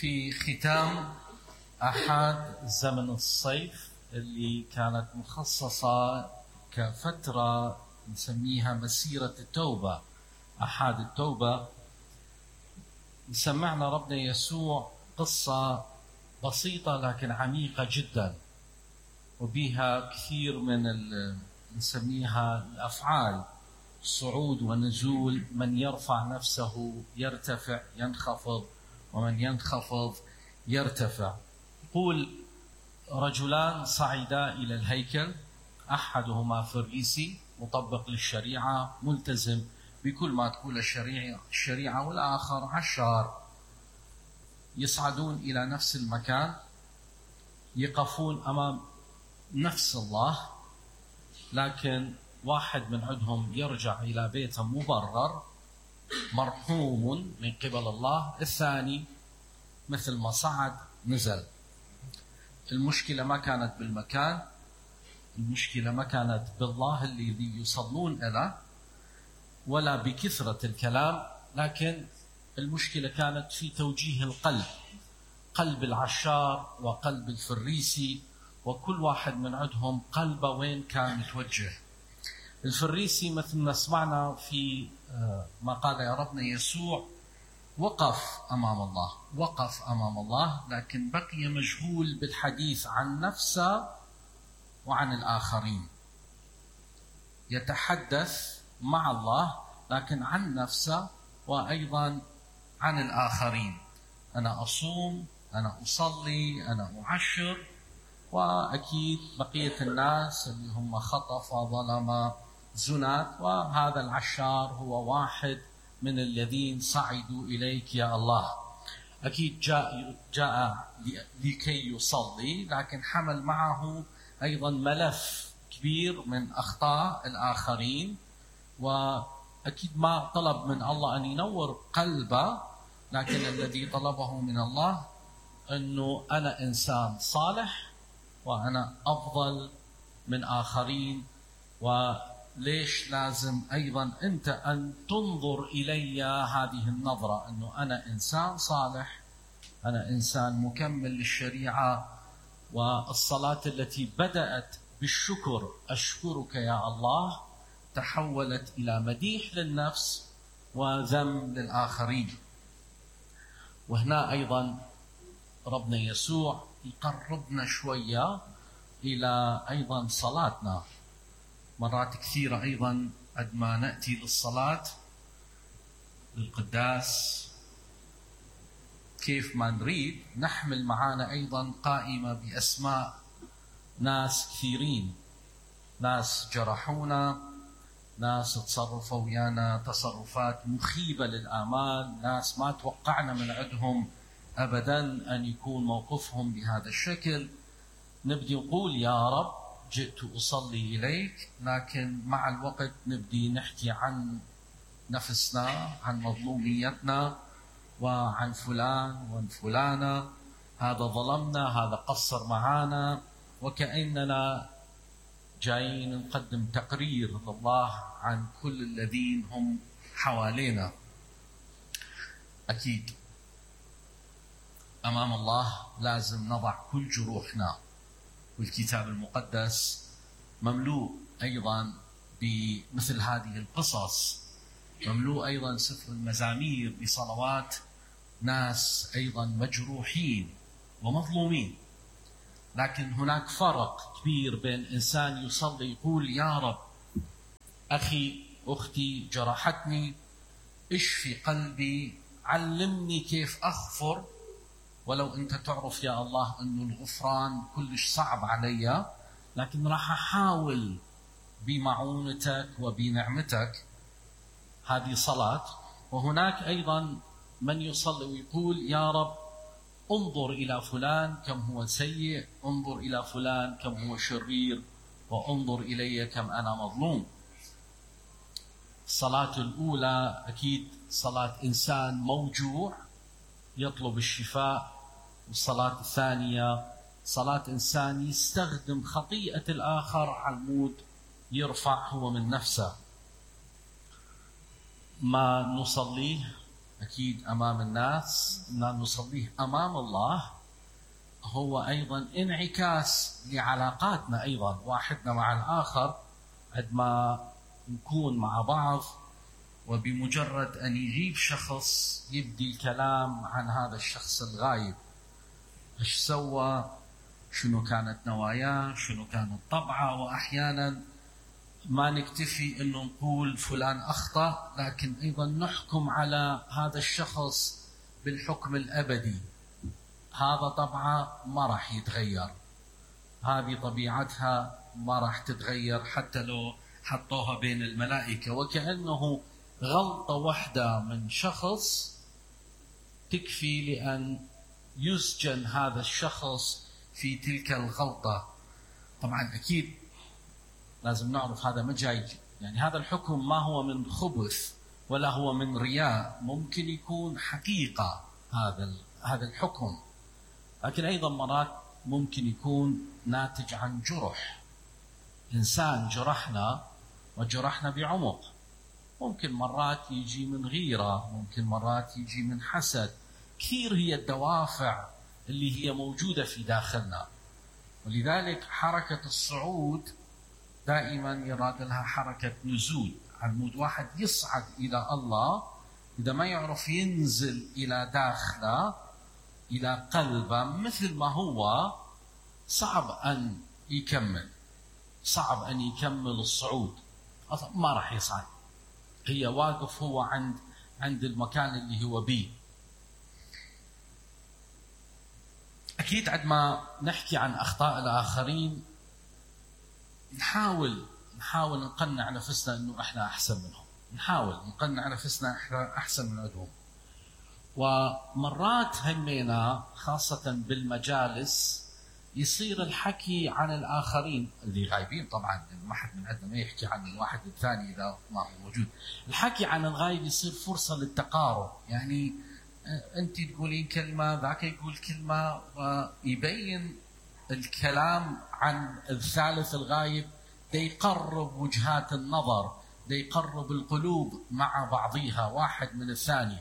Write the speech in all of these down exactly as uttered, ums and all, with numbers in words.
في ختام أحد زمن الصيف اللي كانت مخصصة كفترة نسميها مسيرة التوبة، أحد التوبة، سمعنا ربنا يسوع قصة بسيطة لكن عميقة جدا، وبها كثير من نسميها الأفعال، صعود ونزول، من يرفع نفسه يرتفع، ينخفض، ومن ينخفض يرتفع. يقول رجلان صعدا إلى الهيكل، أحدهما فريسي مطبق للشريعة ملتزم بكل ما تقول الشريعة الشريعة والآخر عشار. يصعدون إلى نفس المكان، يقفون أمام نفس الله، لكن واحد من عندهم يرجع إلى بيته مبرر مرحوم من قبل الله، الثاني مثل ما صعد نزل. المشكلة ما كانت بالمكان، المشكلة ما كانت بالله الذي يصلون له ولا بكثرة الكلام، لكن المشكلة كانت في توجيه القلب، قلب العشار وقلب الفريسي، وكل واحد من عندهم قلبه وين كان متوجه. الفريسي مثل ما سمعنا في ما قال يا ربنا يسوع وقف أمام الله، وقف أمام الله، لكن بقي مشغول بالحديث عن نفسه وعن الآخرين. يتحدث مع الله لكن عن نفسه وأيضا عن الآخرين. أنا أصوم، أنا أصلي، أنا أعشر، وأكيد بقية الناس اللي هم خطف ظلم زنات، وهذا العشار هو واحد من الذين صعدوا إليك يا الله. أكيد جاء, جاء لكي يصلي، لكن حمل معه أيضا ملف كبير من أخطاء الآخرين، وأكيد ما طلب من الله أن ينور قلبه، لكن الذي طلبه من الله أنه أنا إنسان صالح وأنا أفضل من آخرين، وليش لازم أيضا أنت أن تنظر إلي هذه النظرة، أنه أنا إنسان صالح، أنا إنسان مكمل للشريعة. والصلاة التي بدأت بالشكر، أشكرك يا الله، تحولت إلى مديح للنفس وذم للآخرين. وهنا أيضا ربنا يسوع يقربنا شوية إلى أيضا صلاتنا. مرات كثيرة أيضا عندما نأتي للصلاة للقداس كيف ما نريد نحمل معنا أيضا قائمة بأسماء ناس كثيرين، ناس جرحونا، ناس تصرفوا ويانا تصرفات مخيبة للآمال، ناس ما توقعنا من عندهم أبدا أن يكون موقفهم بهذا الشكل. نبدي نقول يا رب جئت أصلي إليك، لكن مع الوقت نبدي نحكي عن نفسنا، عن مظلوميتنا، وعن فلان وعن فلانة، هذا ظلمنا، هذا قصر معانا، وكأننا جايين نقدم تقرير لله عن كل الذين هم حوالينا. أكيد أمام الله لازم نضع كل جروحنا، والكتاب المقدس مملوء أيضا بمثل هذه القصص، مملوء أيضا سفر المزامير بصلوات ناس أيضا مجروحين ومظلومين. لكن هناك فرق كبير بين إنسان يصلي يقول يا رب أخي أختي جرحتني، اشفي قلبي، علمني كيف أغفر، ولو أنت تعرف يا الله أنه الغفران كلش صعب علي، لكن راح أحاول بمعونتك وبنعمتك. هذه صلاة. وهناك أيضا من يصلي ويقول يا رب انظر إلى فلان كم هو سيء، انظر إلى فلان كم هو شرير، وانظر إلي كم أنا مظلوم. الصلاة الأولى أكيد صلاة إنسان موجوع يطلب الشفاء، والصلاة الثانية صلاة إنسان يستخدم خطيئة الآخر على المود يرفع هو من نفسه. ما نصليه أكيد أمام الناس نصليه أمام الله، هو أيضا انعكاس لعلاقاتنا أيضا واحدنا مع الآخر. عندما نكون مع بعض وبمجرد أن يجيب شخص يبدي الكلام عن هذا الشخص الغايب، إيش سوى، شنو كانت نواياه، شنو كانت طبعه، وأحيانا ما نكتفي أنه نقول فلان أخطأ، لكن أيضا نحكم على هذا الشخص بالحكم الأبدي. هذا طبعه ما راح يتغير، هذه طبيعتها ما راح تتغير حتى لو حطوها بين الملائكة. وكأنه غلطة واحدة من شخص تكفي لأن يسجن هذا الشخص في تلك الغلطة. طبعا أكيد لازم نعرف هذا ما جاي، يعني هذا الحكم ما هو من خبث ولا هو من رياء، ممكن يكون حقيقة هذا هذا الحكم، لكن أيضا مرات ممكن يكون ناتج عن جرح إنسان جرحنا وجرحنا بعمق. ممكن مرات يجي من غيرة، ممكن مرات يجي من حسد. كثير هي الدوافع اللي هي موجودة في داخلنا، ولذلك حركة الصعود دائما يراد لها حركة نزول. عمود واحد يصعد إلى الله، إذا ما يعرف ينزل إلى داخله إلى قلبه مثل ما هو، صعب أن يكمل، صعب أن يكمل الصعود، أصلا ما راح يصعد. هي واقف هو عند عند المكان اللي هو بيه. أكيد عندما نحكي عن أخطاء الآخرين نحاول نحاول نقنع نفسنا إنه إحنا أحسن منهم، نحاول نقنع نفسنا إحنا أحسن من عندهم. ومرات همينا خاصة بالمجالس يصير الحكي عن الآخرين اللي غايبين، طبعا ما حد من عندنا ما يحكي عن الواحد الثاني إذا ما هو موجود. الحكي عن الغايب يصير فرصة للتقارب، يعني أنت تقولين كلمة ذاك يقول كلمة، ويبين الكلام عن الثالث الغايب ده يقرب وجهات النظر، ده يقرب القلوب مع بعضها واحد من الثاني.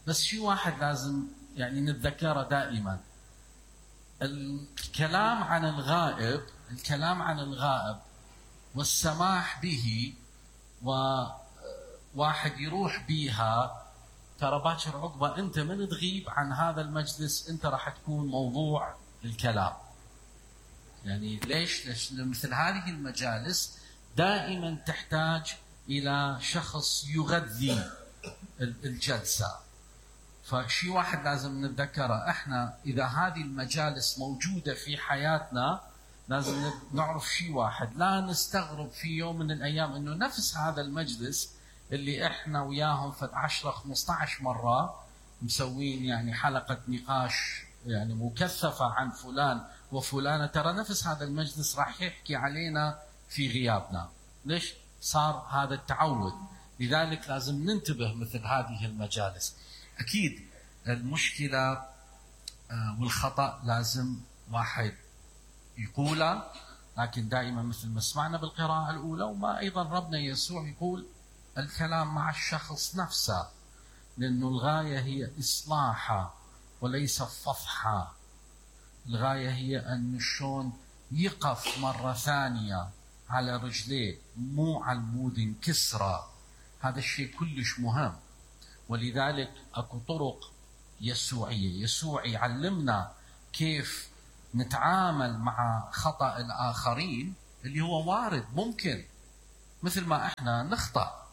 بس شيء واحد لازم يعني نتذكره دائما، الكلام عن الغائب الكلام عن الغائب والسماح به وواحد يروح بيها، ترى باكر عقبة أنت من تغيب عن هذا المجلس أنت راح تكون موضوع الكلام. يعني ليش؟ ليش مثل هذه المجالس دائما تحتاج إلى شخص يغذي الجلسة. فشي واحد لازم نتذكره، احنا اذا هذه المجالس موجودة في حياتنا لازم نعرف شي واحد، لا نستغرب في يوم من الايام انه نفس هذا المجلس اللي احنا وياهم في عشرة خمسة عشر مرة مسوين يعني حلقة نقاش يعني مكثفة عن فلان وفلانة، ترى نفس هذا المجلس راح يحكي علينا في غيابنا. ليش؟ صار هذا التعود. لذلك لازم ننتبه مثل هذه المجالس. أكيد المشكلة والخطأ لازم واحد يقوله، لكن دائما مثل ما سمعنا بالقراءة الأولى وما أيضا ربنا يسوع يقول الكلام مع الشخص نفسه، لأنه الغاية هي إصلاحه وليس فضحه. الغاية هي أن شلون يقف مرة ثانية على رجليه، مو على المود انكسرة. هذا الشيء كلش مهم، ولذلك أكو طرق يسوعية. يسوع يعلمنا كيف نتعامل مع خطأ الآخرين اللي هو وارد، ممكن مثل ما احنا نخطأ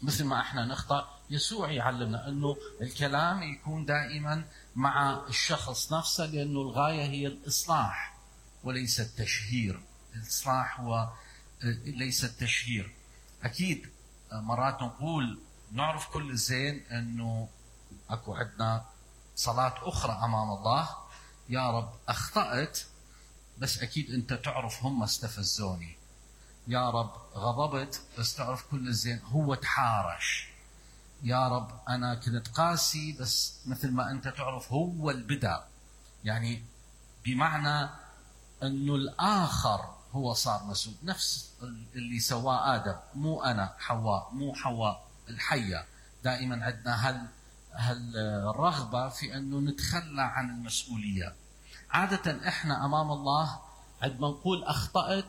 مثل ما احنا نخطأ يسوع يعلمنا أنه الكلام يكون دائما مع الشخص نفسه، لأنه الغاية هي الإصلاح وليس التشهير. الإصلاح هو ليس التشهير. أكيد مرات نقول نعرف كل الزين أنه أكو عندنا صلاة أخرى أمام الله، يا رب أخطأت بس أكيد أنت تعرف هم استفزوني، يا رب غضبت بس تعرف كل الزين هو تحارش، يا رب أنا كنت قاسي بس مثل ما أنت تعرف هو البدأ. يعني بمعنى أنه الآخر هو صار مسؤول، نفس اللي سواه آدم، مو أنا حواء، مو حواء الحية. دائما عندنا هال هالرغبة في أنه نتخلى عن المسؤولية. عادة إحنا أمام الله عندما نقول أخطأت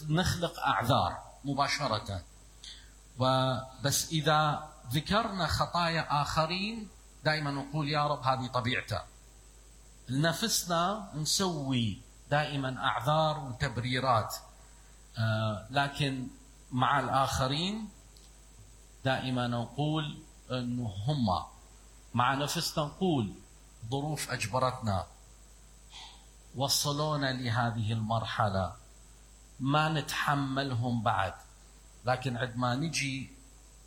نخلق أعذار مباشرة، وبس إذا ذكرنا خطايا آخرين دائما نقول يا رب هذه طبيعته. لنفسنا نسوي دائما أعذار وتبريرات، آه لكن مع الآخرين دائما نقول أنه هم، مع نفسنا نقول ظروف أجبرتنا، وصلونا لهذه المرحلة، ما نتحملهم بعد. لكن عندما نجي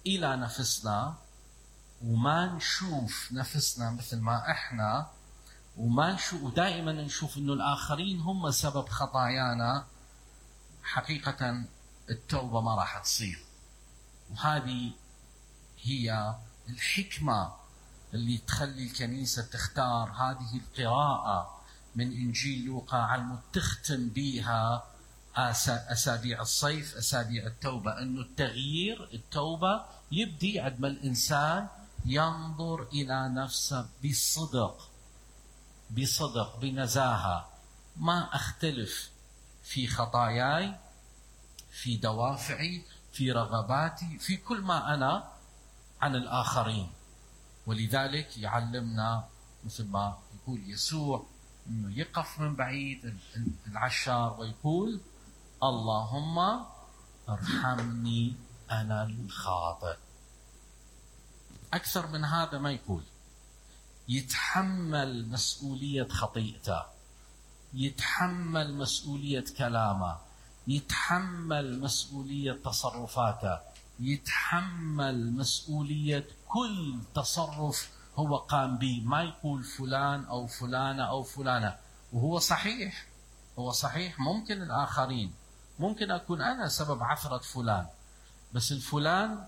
إلى نفسنا وما نشوف نفسنا مثل ما إحنا، وما نشوف، ودائما نشوف أنه الآخرين هم سبب خطايانا، حقيقة التوبة ما راح تصير. وهذه هي الحكمة اللي تخلي الكنيسة تختار هذه القراءة من إنجيل لوقا على تختم بها أسابيع الصيف، أسابيع التوبة، أنه التغيير التوبة يبدي عندما الإنسان ينظر إلى نفسه بصدق بصدق بنزاهة. ما أختلف في خطاياي، في دوافعي، في رغباتي، في كل ما أنا عن الآخرين. ولذلك يعلمنا مثل ما يقول يسوع أنه يقف من بعيد العشار ويقول اللهم ارحمني أنا الخاطئ. أكثر من هذا ما يقول. يتحمل مسؤولية خطيئته، يتحمل مسؤولية كلامه، يتحمل مسؤولية تصرفاته، يتحمل مسؤولية كل تصرف هو قام به. ما يقول فلان أو فلانة أو فلانة. وهو صحيح، هو صحيح ممكن الآخرين، ممكن أكون أنا سبب عثرة فلان، بس الفلان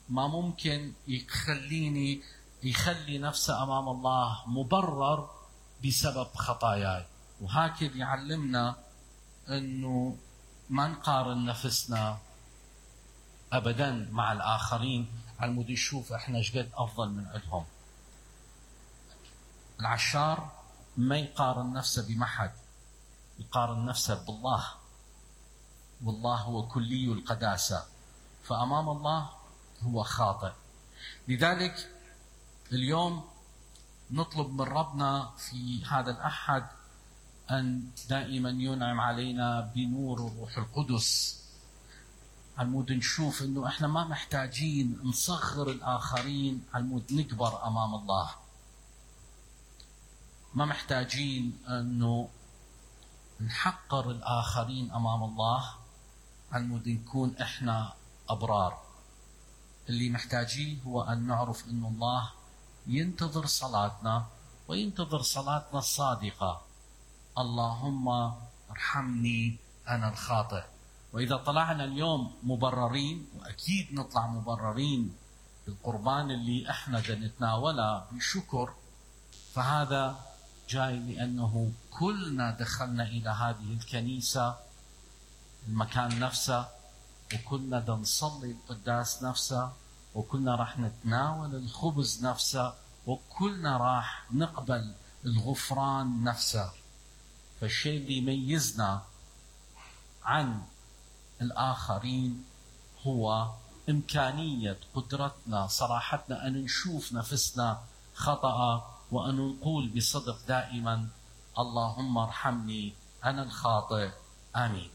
ما ممكن يخليني يخلي نفسه أمام الله مبرر بسبب خطاياي. وهكذا يعلمنا أنه ما نقارن نفسنا أبدا مع الآخرين على مود نشوف إحنا شقد أفضل من عندهم. العشار ما يقارن نفسه بمحد، يقارن نفسه بالله، والله هو كلي القداسة، فأمام الله هو خاطئ. لذلك اليوم نطلب من ربنا في هذا الأحد أن دائما ينعم علينا بنور الروح القدس، على مود نشوف أنه إحنا ما محتاجين نصغر الآخرين، على مود نكبر أمام الله. ما محتاجين أنه نحقر الآخرين أمام الله، على مود نكون إحنا أبرار. اللي محتاجين هو أن نعرف أن الله ينتظر صلاتنا، وينتظر صلاتنا الصادقة. اللهم ارحمني أنا الخاطئ. وإذا طلعنا اليوم مبررين، وأكيد نطلع مبررين بالقربان اللي احنا نتناوله بشكر، فهذا جاي لأنه كلنا دخلنا إلى هذه الكنيسة المكان نفسه، وكلنا دا نصلي القداس نفسه، وكلنا راح نتناول الخبز نفسه، وكلنا راح نقبل الغفران نفسه. فالشيء اللي يميزنا عن الآخرين هو إمكانية قدرتنا، صراحتنا أن نشوف نفسنا خطأ، وأن نقول بصدق دائما اللهم ارحمني أنا الخاطئ. آمين.